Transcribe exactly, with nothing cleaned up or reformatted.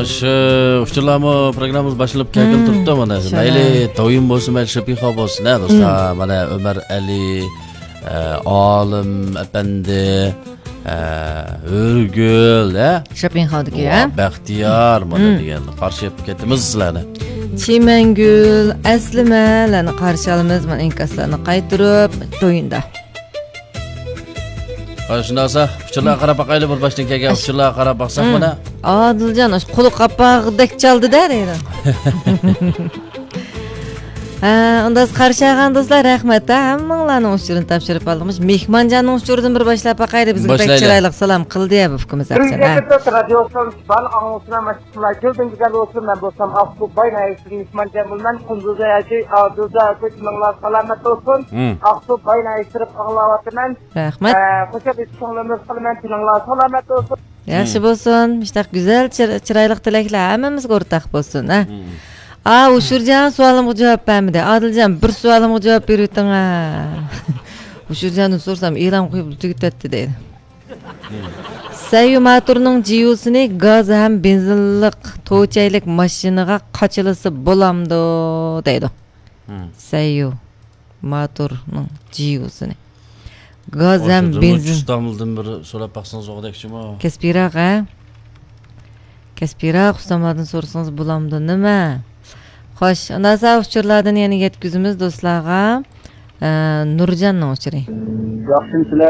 شۇ ئۇچۇرلارمۇ پروگراممىمىز باشلىنىپ كەلگىلى تۇرۇپتۇ مانا. شۇنداق. مەيلى تويۇن بولسۇن، مەيلى شېپىخا بولسۇن، ھە، دوستلار. مانا ئۆمەر ئەلى، ئە، ئالىم ئەپەندى، ئە، ھۆرگۈل، ھە؟ شېپىخادىكى، ھە؟ ۋا بەختىيار، مانا دېگەن قارشى ئېلىپ كېتىمىز سىلەرنى. چىمەنگۈل، ئەسلىمەلەرنى قارشى ئالىمىز، مانا ئىنكاسلارنى قايتۇرۇپ، تويۇندا. ھاي، شۇنداق بولسا، ئۇچۇرلارغا قاراپ باقايلى، بىر باشتىن كەلگەن ئۇچۇرلارغا قاراپ باقساق مانا. ئادىلجان، ئاشۇ قۇلىقى قاپاقدەك چالدى-دە، دەيدۇ. ھە، ئۇنداق قارشى ئالغان دوستلار، رەھمەت، ھە، ھەممىڭلارنىڭ ئۇچۇرىنى تاپشۇرۇپ ئالدىم. مۇشۇ مېھمانجاننىڭ ئۇچۇرىدىن بىر باشلاپ باقايلى، بىزگە بەك چىرايلىق سالام قىلدى يا بۇ ئۇكىمىز. بىرىنچى ئەپسەن، ھە. رادىيو ئىستانسىسى بارلىق ئاڭلىغۇچىلار، ماشىنىلار گۈلدىن گۈزەل بولسۇن، مەن بولسام ئاقسۇ باي ناھىيەسىدىن مېھمانجان بولىمەن، قۇندۇزاي ھاجى، ئادىلجان ئاكا، تېنىڭلار سالامەت بولسۇن. ئاقسۇ باي ناھىيەسى تېرىپ ئاڭلاۋاتىمەن. رەھمەت. ئە، خوش ئەمىس كۆڭلىمىز قىلىمەن، تېنىڭلار سالامەت بولسۇن. ياخشى بولسۇن. مۇشۇنداق گۈزەل، چىر-، چىرايلىق تىلەكلەر ھەممىمىزگە ئورتاق بولسۇن، ھە. ئا، ئۇشۇرجان سوئالىمغا جاۋاب بەرمىدى. ئادىلجان، بىر سوئالىمغا جاۋاب بېرىۋېتىڭ، ھە. ئۇشۇرجاندىن سورىسام، ئېلان قويۇپ تۈگىتەتتى دەيدۇ. سەييۇ ماتۇرنىڭ جىيۇسىنى گاز ھەم بېنزىنلىق توچەيلىك ماشىنىغا قاچىلىسا بولامدۇ دەيدۇ. سەييۇ ماتۇرنىڭ جىيۇسىنى. گاز ھەم بېنزىن. ئۇستامدىن بىر سوراپ باقسىڭىز ئوغدەكچىمۇ؟ كەسپىيراق، ھە؟ كەسپىيراق ئۇستاملاردىن سورىسىڭىز بولامدۇ نېمە؟ خوش، ئۇنداق ئۇچۇرلاردىن يەنە يەتكۈزىمىز دوستلارغا. ئە، نۇرجاننىڭ ئۇچۇرى. ياخشىمۇسىلەر؟